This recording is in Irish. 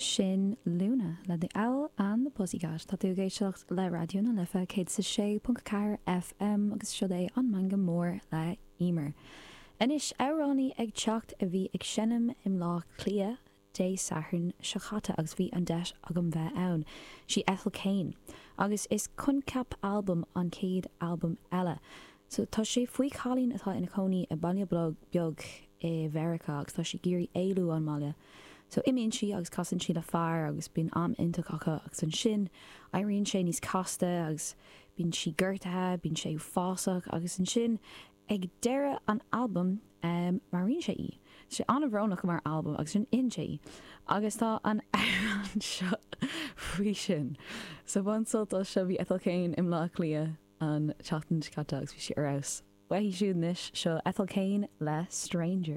Sin Luna le The Owl and the Pussycat. Tá tú ag éisteacht le Raidió na Life 106.4 FM agus siod é an Meangadh Mór le Emer. Anois, amhránaí ag teacht a bhí ag seinm i mBleá Cliath Dé Sathairn seo chaite agus bhí an deis agam bheith ann. Sí Ethel Cain. Agus is coincheap albam an chéad albam eile. So tá sé faoi chailín atá ina cónaí i baile beag i Mheiriceá agus tá sí ag iarraidh éalú ón mbaile. So imíonn sí agus casann sí le fear agus bíonn am iontach acu agus ansin éiríonn sé níos casta agus bíonn sí gortaithe, bíonn sé uafásach agus ansin ag deireadh an albaim maraíonn sé í. Tá sé an-bhrónach mar albam agus sin itheann sé í. Agus tá an amhrán seo faoi sin. So bain sult as seo bhí Ethel Cain i mBleá Cliath an tseachtain seo caite agus bhí sí ar fheabhas. Uaithi siúd anois, seo Ethel Cain le Stranger.